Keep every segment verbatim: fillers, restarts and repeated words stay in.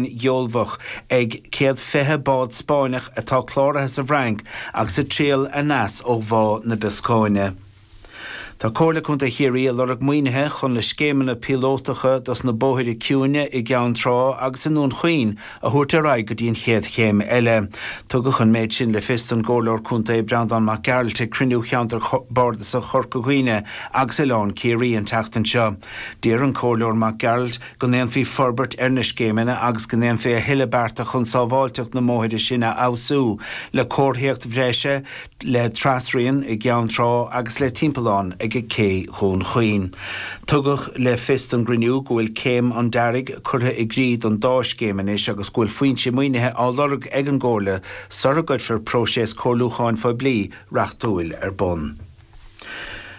Gheolbhach ag céad fiche bád Spáinneach atá cláraithe sa bhFrainc agus ag triall aneas ó Bhá na Bioscáine. Tá Comhairle Contae Chiarraí ag lorg maoinithe chun na scéimeanna píolótacha dos na bóithre ciúine i gCeann Trá agus i nDún Chaoin a thabhairt ar aghaidh go dtí an chéad chéim eile. Tugadh an méid sin le fios don gComhairleoir Contae Breandán Mac Gearailt ag cruinniú Cheantar Bardasach Chorca Dhuibhne agus Oileán Ciarraí an tseachtain seo. D'iarr an Comhairleoir Mac Gearailt go ndéanfaí forbairt ar na scéimeanna agus go ndéanfaí a thuilleadh bearta chun sábháilteacht na mbóithre sin a fheabhsú le comharthaíocht bhreise, le trasrian i gCeann Trá agus le timpeallán ag Cé Dhún Chaoin. Tugadh le fios don gcruinniú go bhfuil céim an dearaidh curtha i gcrích don dá scéim anois agus go bhfuil foinse maoinithe á lorg ag an gComhairle sara gcuirfear próiseas comhairliúcháin phoiblí reachtúil ar bun.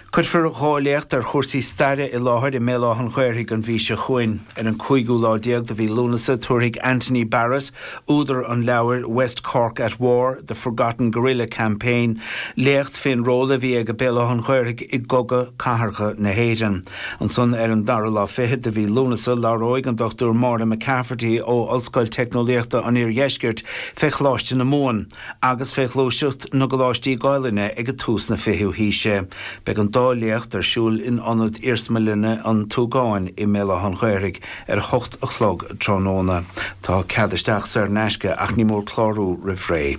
Cuirfear dhá léacht ar chúrsaí staire i láthair i mBéal Átha an Ghaorthaidh an mhí seo chugainn. Ar an cúigiú lá déag de mhí Lúnasa tabharfaidh Anthony Barrett, údar an leabhair West Cork at War, The Forgotten Guerrilla Campaign, léacht fén ról a bhí ag Béal Átha an Ghaorthaidh i gCogadh Cathartha na hÉireann. Ansan ar an dara lá fichead de mhí Lúnasa labhróidh an Dochtúir Máire McCafferty ó Ollscoil Teicneolaíochta an Iardheiscirt fé Choláiste na Mumhan agus fé ghluaiseacht na gcoláistí Gaelainne ag tús na fichiú haoise. Beidh an dá léacht ar siúl in Ionad Iarsmalainne an tSúgáin i mBéal Átha an Ghaorthaidh ar a hocht a chlog tráthnóna. Tá cead isteach saor in aisce ach ní mór clárú roimh ré.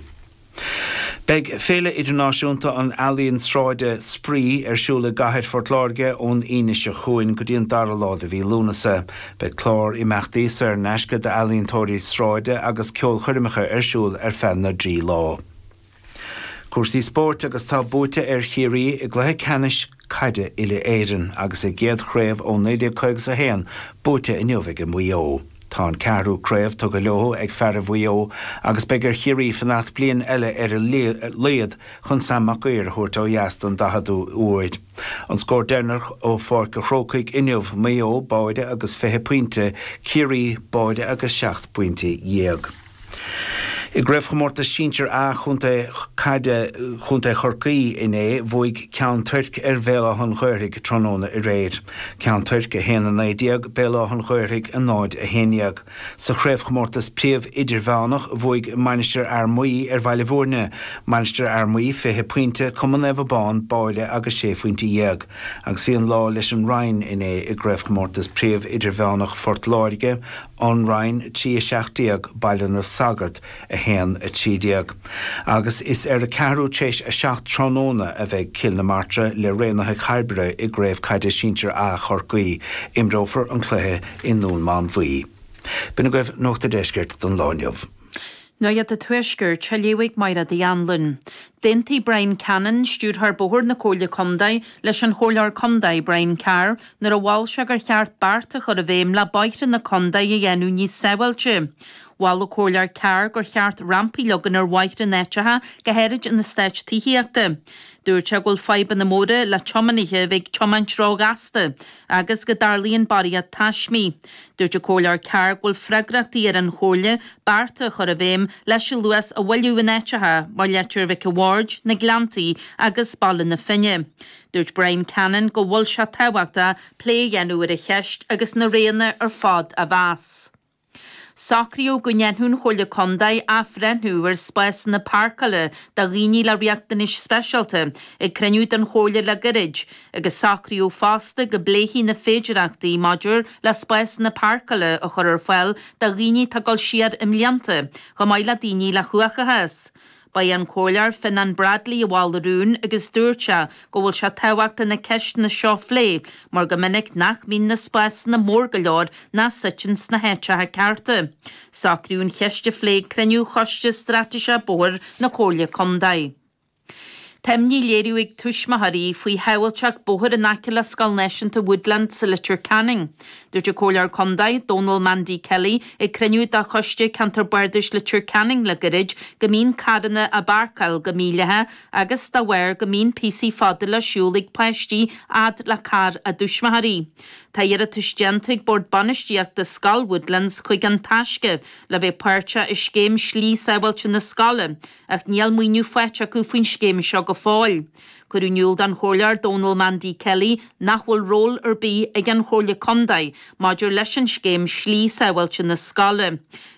Beidh Féile Idirnáisiúnta an Ealaíon Sráide Spraoi ar siúl i gCathair Phort Láirge ón Aoine seo chugainn go dtí an dara lá de mhí Lúnasa. Beidh clár imeachtaí saor in aisce d'ealaíontóirí sráide agus ceolchoirmeacha ar siúl ar feadh na dtrí lá. Cúrsaí spóirt agus tá buaite ar Chiarraí i gcluiche ceannais caide uile-Éireann agus a gcéad chraobh ó naoi déag caoga a haon buaite inniu ag Maigh Eo. Tá an ceathrú craobh tugtha leo ag fearaibh Mhaigh Eo agus beidh ar Chiarraí fanacht bliain eile ar a laghad chun Sam Mac Uidhir a thabhairt ó dheas don daicheadú huair. An scór deireanach ó Pháirc an Chrócaigh inniu, Maigh Eo báire agus fiche pointe, Ciarraí báire agus seacht bpointe dhéag. I gCraobhchomórtas Sinsir A Chontae Caide Chontae Chorcaí inné, bhuaigh Ceann Toirc ar Bhéal Átha an Ghaorthaidh tráthnóna aréir. Ceann Toirc a haon a naoi déag, Béal Átha an Ghaorthaidh a náid a haon dhéag. Sa Chraobhchomórtas Príomh Idirmheánach, bhuaigh Mainistir Fhear Maí ar Bhaile Bhúirne, Mainistir Fhear Maí fiche pointe, Cumann Naomh Abán báire agus sé phointe dhéag. Agus bhí an lá leis an Rinn inné i gCraobhchomórtas Príomh Idirmheánach Phort Láirge, An Rinn trí a seacht déag, Baile na Sagart a haon a trí déag. Agus is ar a ceathrú tar éis a seacht tráthnóna a bheidh Cill na Martra le Raonaithe Chairbre i gCraobh Caide Sinsir A Chorcaí. Imreofar an cluiche i nDún Mánmhaí. B'in agaibh Nuacht an Deiscirt don lá inniu. Nuacht an Tuaiscirt, á léamh ag Máire Uí Anluain. D'aontaigh Brian Cannon, Stiúrthóir Bóthair na Comhairle Contae, leis an Chomhairleoir Contae Brian Carr nuair a mhol sé gur cheart bearta a chur i bhfeidhm le bóithre na contae a dhéanamh níos sábháilte. Mhol an Comhairleoir Carr gur cheart rampaí a leagan ar bhóithre in áiteacha, go háirid in eastáit tithíochta. Dúirt sé go bhfuil fadhbanna móra le tiománaithe a bheith ag tiomáint róghasta agus go dtarlaíonn barraíocht taismí. Dúirt an Comhairleoir Carr go bhfuil freagrachtaí ar an Chomhairle bearta a chur i bhfeidhm leis an luas a mhoilliú in áiteacha mar Leitir Mhic an Bhaird, na Gleanntaí agus Baile na Finne. Dúirt Brian Cannon go bhfuil sé tábhachtach plé a dhéanamh ar an cheist agus na roghanna ar fad a mheas. Socraíodh go ndéanfadh an Chomhairle Contae athbhreithniú ar spásanna páirceála do dhaoine le riachtanais speisialta ag cruinniú den Chomhairle le gairid, agus socraíodh fosta go bpléifí na féidearthachtaí maidir le spásanna páirceála a chur ar fáil do dhaoine atá ag dul siar i mblianta, chomh maith le daoine le huathachas. Ba é an Comhairleoir Fionnán Bradley a mhol an rún agus dúirt sé go bhfuil sé tábhachtach na ceisteanna seo a phlé mar go minic nach mbíonn na spásanna mór go leor ná suite sna háiteacha cearta. Socraíodh an cheist a phlé ag cruinniú Choiste Straitéiseach Bóthair na Comhairle Contae. Tá imní á léiriú ag tuismitheoirí faoi shábháilteacht bóthair in aice le Scoil Náisiúnta Woodland sa Leitir Ceanainn. Dúirt an Comhairleoir Contae, Dónal Mandy Kelly, ag cruinniú de Choiste Ceantar Bardais Leitir Ceanainn le gairid go mbíonn carranna á bpáirceáil go mídhleathach agus dá bharr go mbíonn píosaí fada le siúl ag páistí fhad le carr a dtuismitheoirí. Tá iarratas déanta ag Bord Bainistíochta Scoil Woodlands chuig an Taisce le bheith páirteach i scéim slí sábháilte na scoile, ach níl maoiniú faighte acu faoin scéim seo go fóill. Cuireadh in iúl don Chomhairleoir Donal Mandy Kelly nach bhfuil ról ar bith ag an Chomhairle Contae maidir leis an scéim slí sábháilte na scoile.